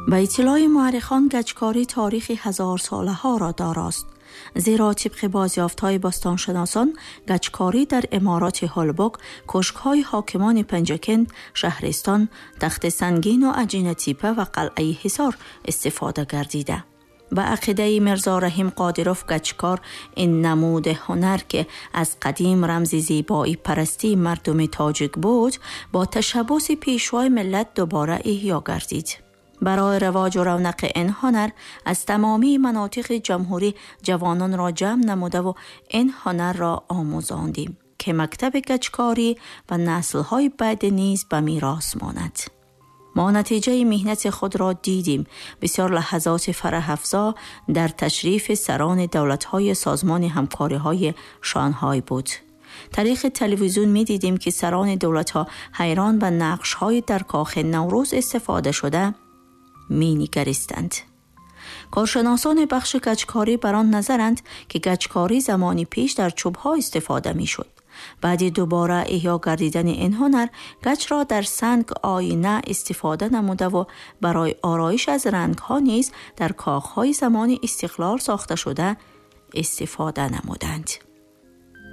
Ба иттилои муаррихон, гачкорӣ таърихи ҳазорсолаҳоро дорост. Зеро тибқи бозёфтҳои бостоншиносон, гачкорӣ дар имороти Ҳулбук, кӯшкҳои ҳокимони Панҷакент, шаҳристон, Тахти Сангину Аҷинатипа ва қалъаи Ҳисор истифода гардида. Ба ақидаи Мирзо Раҳим Қодиров, гачкор ин намуди ҳунар, ки аз қадим рамзи зебоӣ парастии мардуми тоҷик буд, бо ташаббуси Пешвои миллат дубора эҳё гардид. Барои равоҷу равнақи ин ҳунар аз тамомии манотиқи ҷумҳурӣ ҷавононро ҷамъ намудаву ин ҳунарро омӯзондем, ки мактаби гачкорӣ ба наслҳои баъд низ ба мерос монад. Мо натиҷаи меҳнати худро дидем. Бисёр лаҳзоти фараҳафзо дар ташрифи сарони давлатҳои Созмони ҳамкориҳои Шанхай буд. Тариқи телевизион медидем, ки сарони давлатҳо ҳайрон ба нақшҳои дар кохи Наврӯз истифода шуда менигаристанд. Коршиносони бахши гачкорӣ бар он назаранд, ки гачкорӣ замони пеш дар чӯбҳо истифода мешуд. Баъди дубора эҳё гардидани ин ҳунар гачро дар санг оина истифода намудаву барои ороиш аз рангҳо низ дар кохҳои замони истиқлол сохта шуда истифода намуданд.